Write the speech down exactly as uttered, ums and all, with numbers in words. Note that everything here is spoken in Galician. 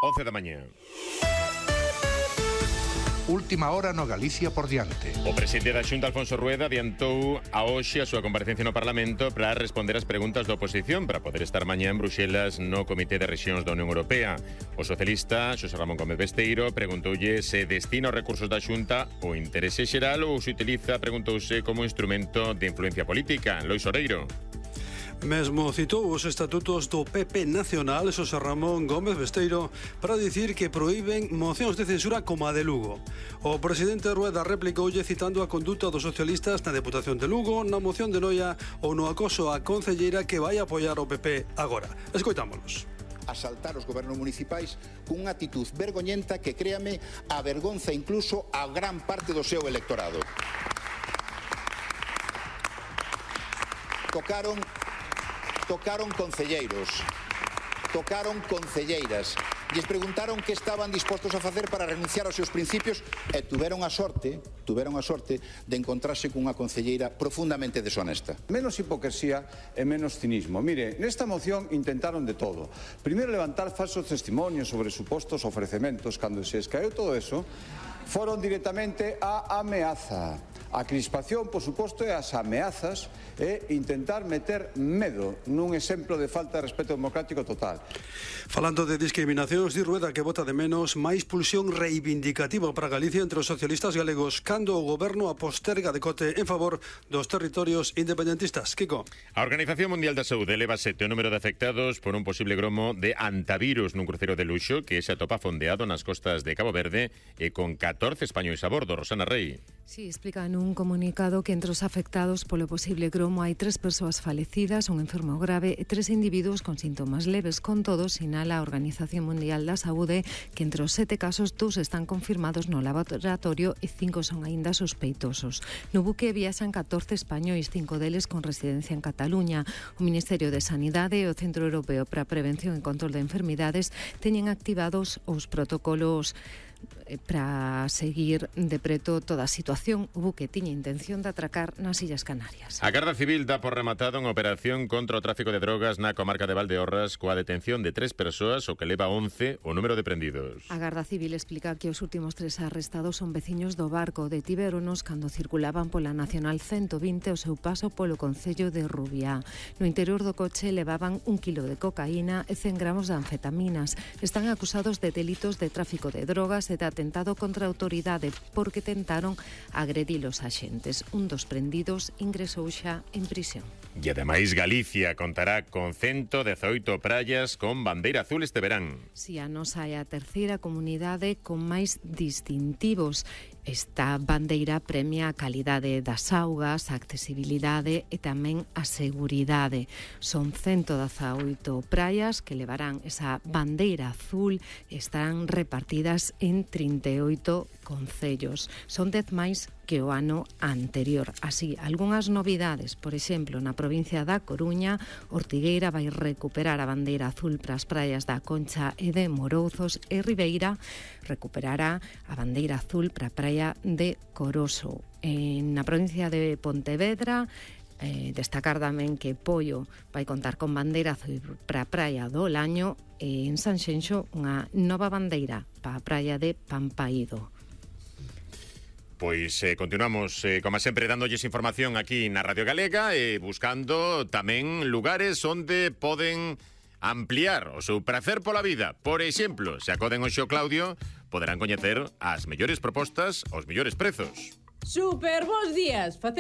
once da mañá. Última hora no Galicia por diante. O presidente da Xunta, Alfonso Rueda, adiantou a hoxe a súa comparecencia no Parlamento para responder as preguntas da oposición para poder estar mañá en Bruxelas no Comité de Rexións da Unión Europea. O socialista Xosé Ramón Gómez Besteiro preguntoulle se destina os recursos da Xunta o interese xeral ou se utiliza, preguntouse, como instrumento de influencia política. Lois Oreiro. Mesmo citou os estatutos do P P Nacional, Xosé Ramón Gómez Besteiro, para dicir que proíben mocións de censura como a de Lugo. O presidente Rueda replicoulle citando a conduta dos socialistas na Deputación de Lugo, na moción de Noia ou no acoso á concelleira que vai apoiar o P P agora. Escoitámolos. Asaltar os gobernos municipais cunha actitud vergoñenta que, créame, avergonza incluso a gran parte do seu electorado. Tocaron Tocaron concelleiros, tocaron concelleiras, lles preguntaron que estaban dispostos a facer para renunciar aos seus principios e tuveron a sorte, tuveron a sorte de encontrarse cunha concelleira profundamente deshonesta. Menos hipocresía e menos cinismo. Mire, nesta moción intentaron de todo. Primeiro levantar falsos testimonios sobre supostos ofrecementos. Cando se escaeu todo eso, foron directamente á ameaza. A crispación, por suposto, e as ameazas e intentar meter medo nun exemplo de falta de respeto democrático total. Falando de discriminacións, di Rueda que vota de menos máis pulsión reivindicativa para Galicia entre os socialistas galegos cando o goberno a posterga decote en favor dos territorios independentistas. Kiko. A Organización Mundial da Saúde eleva sete o número de afectados por un posible gromo de antivirus nun cruceiro de luxo que se atopa fondeado nas costas de Cabo Verde e con catorce españois a bordo. Rosana Rey. Sí, explica nun comunicado que entre os afectados polo posible gromo hai tres persoas falecidas, un enfermo grave e tres individuos con síntomas leves. Con todo, sinala a Organización Mundial da Saúde que entre os sete casos, dous están confirmados no laboratorio e cinco son aínda sospeitosos. No buque viaxan catorce españois, cinco deles con residencia en Cataluña. O Ministerio de Sanidade e o Centro Europeo para a Prevención e Control de Enfermidades teñen activados os protocolos para seguir de preto toda a situación. O buque tiña intención de atracar nas Illas Canarias. A Garda Civil dá por rematado unha operación contra o tráfico de drogas na comarca de Valdeorras coa detención de tres persoas, o que leva once o número de prendidos. A Garda Civil explica que os últimos tres arrestados son veciños do barco. Detivéronos cando circulaban pola Nacional ciento vinte o seu paso polo concello de Rubiá. No interior do coche levaban un kilo de cocaína e cen gramos de anfetaminas. Están acusados de delitos de tráfico de drogas e de atentado contra a autoridade porque tentaron agredir os axentes. Un dos prendidos ingresou xa en prisión. E ademais Galicia contará con ciento dezaoito praias con bandeira azul este verán. Si a nosa é a terceira comunidade con máis distintivos. Esta bandeira premia a calidade das augas, a accesibilidade e tamén a seguridade. Son ciento dezaoito praias que levarán esa bandeira azul e estarán repartidas en trinta e oito concellos. Son dez máis que o ano anterior. Así, algunhas novidades, por exemplo, na provincia da Coruña, Ortigueira vai recuperar a bandeira azul para as praias da Concha e de Morouzos e Ribeira recuperará a bandeira azul para a praia de Coroso. En na provincia de Pontevedra, eh, destacar tamén que Poio vai contar con bandeira azul para a praia do Laño e en Sanxenxo unha nova bandeira para a praia de Pampaído. Pois eh, continuamos, eh, como sempre, dándolles información aquí na Radio Galega e eh, buscando tamén lugares onde poden ampliar o seu prazer pola vida. Por exemplo, se acoden hoxe ao Claudio, poderán coñecer as mellores propostas aos mellores prezos. Super bons días!